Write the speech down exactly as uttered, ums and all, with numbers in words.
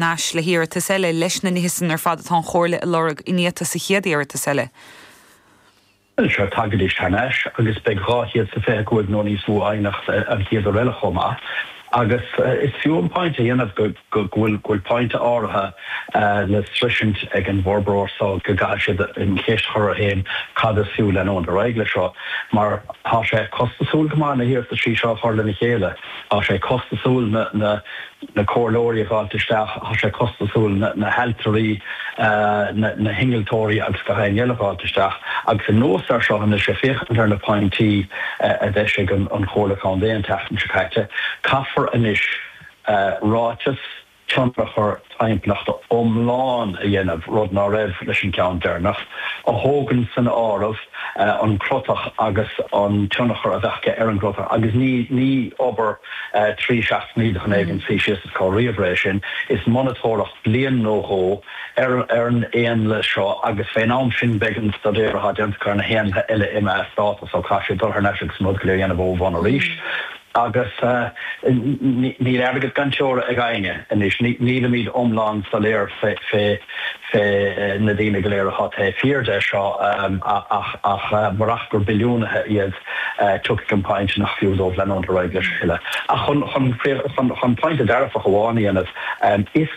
n-ais le hiarratas eile leis na nithe sin ar fad atá an Chomhairle ag lorg iniata sa chéad iarratas eile. Seo tagaidís thar n-ais agus beidh dhá chéad is fiche cúig nó níos mó aighneacht an chéad uair eile chomh maith. Agus is fiú an pointe a dhéanamh go bhfuil go bhfuil pointe áirithe le sroisint ag an bhforbróir so go gcaithfidh siad an cheist a chur orthu féin cad is fiú leanúint ar aghaidh leis seo mar tá sé costasúil go maith na hiarrataisí seo a chur lena chéile, tá sé costasúil na na na comhairleoirí a fháilt isteach, tá sé costasúil na na hailtirí, na na hinnealtóirí agus gach éinne eile a fháilt isteach. Agus anuas air seo anois ag féachaint ar na pointí a d'eisigh an an Chomhairle Contae an tseachtain seo caite, caithfear anois ráiteas tionchar timpeallachta iomlán a dhéanamh, rud ná raibh leis an gceann deireanach, a thógann san áireamh an crotach agus an tionchar a bheadh ar an gcrotach agus ní ní obair trí seachtainí de dhuine éigin suí síos is cur ríomhaire é sin, is monatóireacht bliain nó dhó ar ar an éanlaith seo agus fén am sin beidh an staidéar atá déanta acu ar na héanlaithe eile imithe as dáta so caithfidh siad dul thar n-ais agus an rud go léir a dhéanamh ó bhun arís. Agus níl airgead gan teora ag éinne anois, nílimid iomlán soiléir fé fé na daoine go léir atá taobh thiar de seo ach ach murach gur billiúnaithe iad tiocfaidh an pointe nach fiú dóibh leanúint ar aghaidh leis a thuilleadh. Ach chun chun chun chun pointe dearfach amháin a dhéanamh, is